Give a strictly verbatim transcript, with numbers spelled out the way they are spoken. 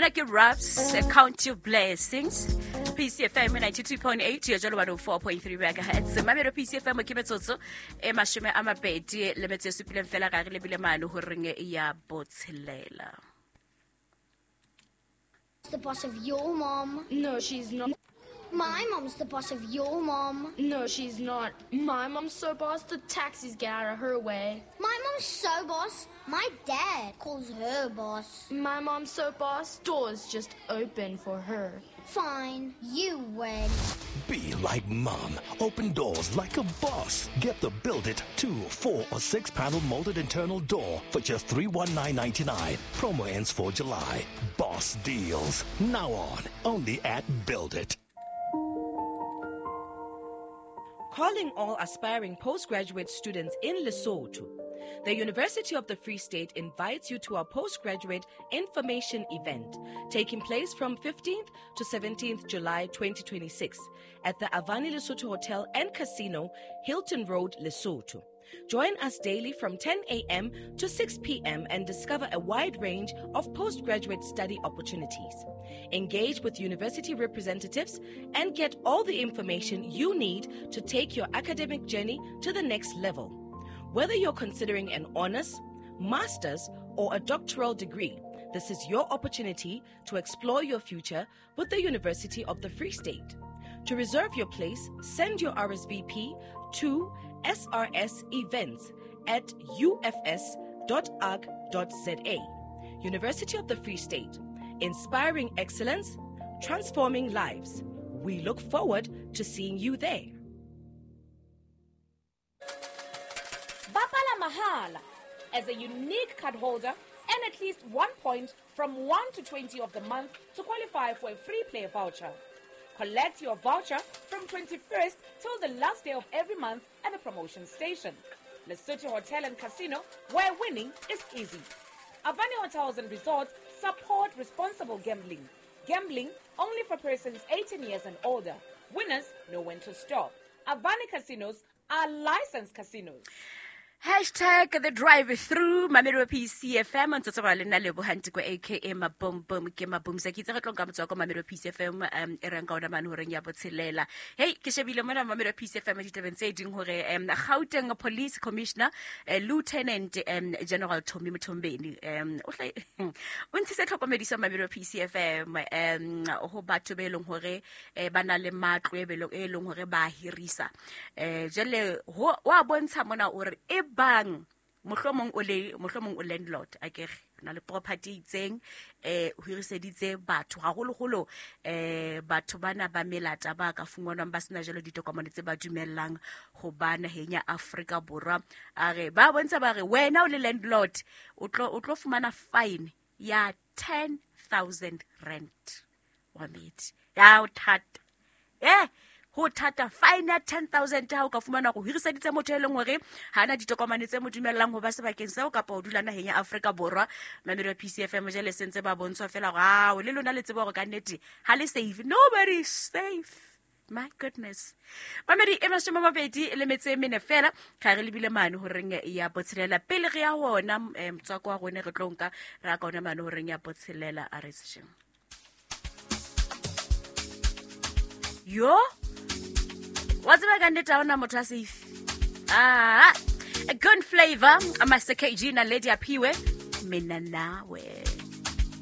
Ena ke Raps, Count Your Blessings. P C F M ninety-two point eight, ya jalo one oh four point three megahertz. Mamelo P C F M ke metsotso e mashome a mabedi le metso e supileng fela ga re lebile mane ho reng ya botshelela. The boss of your mom. No, she's not. My mom's the boss of your mom. No, she's not. My mom's so boss, the taxis get out of her way. My mom's so boss, my dad calls her boss. My mom's so boss, doors just open for her. Fine, you win. Be like mom. Open doors like a boss. Get the Build It two, four, or six panel molded internal door for just three one nine ninety-nine. Promo ends for July. Boss deals. Now on. Only at Build It. Calling all aspiring postgraduate students in Lesotho. The University of the Free State invites you to our postgraduate information event taking place from fifteenth to seventeenth July twenty twenty-six at the Avani Lesotho Hotel and Casino, Hilton Road, Lesotho. Join us daily from ten a.m. to six p.m. and discover a wide range of postgraduate study opportunities. Engage with university representatives and get all the information you need to take your academic journey to the next level. Whether you're considering an honors, master's, or a doctoral degree, this is your opportunity to explore your future with the University of the Free State. To reserve your place, send your R S V P to S R S events at U F S dot org dot Z A. University of the Free State, inspiring excellence, transforming lives. We look forward to seeing you there. Bapala Mahala as a unique card holder and at least one point from one to twenty of the month to qualify for a free play voucher. Collect your voucher from twenty-first till the last day of every month at the promotion station. Lesotho Hotel and Casino, where winning is easy. Avani Hotels and Resorts support responsible gambling. Gambling only for persons eighteen years and older. Winners know when to stop. Avani Casinos are licensed casinos. Hashtag the drive through Mamelo P C F M ntse tsa le nna le bohantiko aka Mabom Bom ke Mabom sa kitse re tlo nka motswa ko Mamelo P C F M um e reng ka ona mane horeng ya botshelela. Hey, ke shebile mona Mamelo P C F M ditabeng tse ding hore um Gauteng Police Commissioner uh, Lieutenant um, General Tommy Mthombeni um o hle o ntshitse tlhokomediso Mamelo P C F M um ho batho be leng hore ba na le matlo e belong e leng hore ba hirisa eh jele ho wa bontsha mona o re e bang mohlomong o le mohlomong o landlord akere na le property itseng eh ho hiriseditse batho haholoholo eh batho bana ba melata ba ka fungwanwang ba sena jalo ditokomane tse ba dumellang ho ba naheng ya Afrika Borwa. A re ba bontsha ba re wena o le landlord o tlo o tlo fumana fine ya ten thousand rand wa meti ya o thata eh ho thata fine ya ten thousand ha o ka fumana go hiriseditse motho e leng hore ha ana ditokomane tse mo dumellang ho ba sebakeng seo kapa ho dula naheng ya Afrika Borwa. Mamelo P C F M jele sentse ba bontshwa fela hore ao le lona le tsebe hore ka nnete ha le safe. Nobody is safe. My goodness. Mamedi e mashome a mabedi le metso e mene fela ga re lebile mane horeng ya botshelela pele re ya hona motswako wa rone re tlo nka re ka ona mane horeng ya botshelela a re sesheng. Yo wa tseba ka nnete ha ona motho a safe. Ah, a good flavor, Master K G na Lady Aphiwe, mina nawe.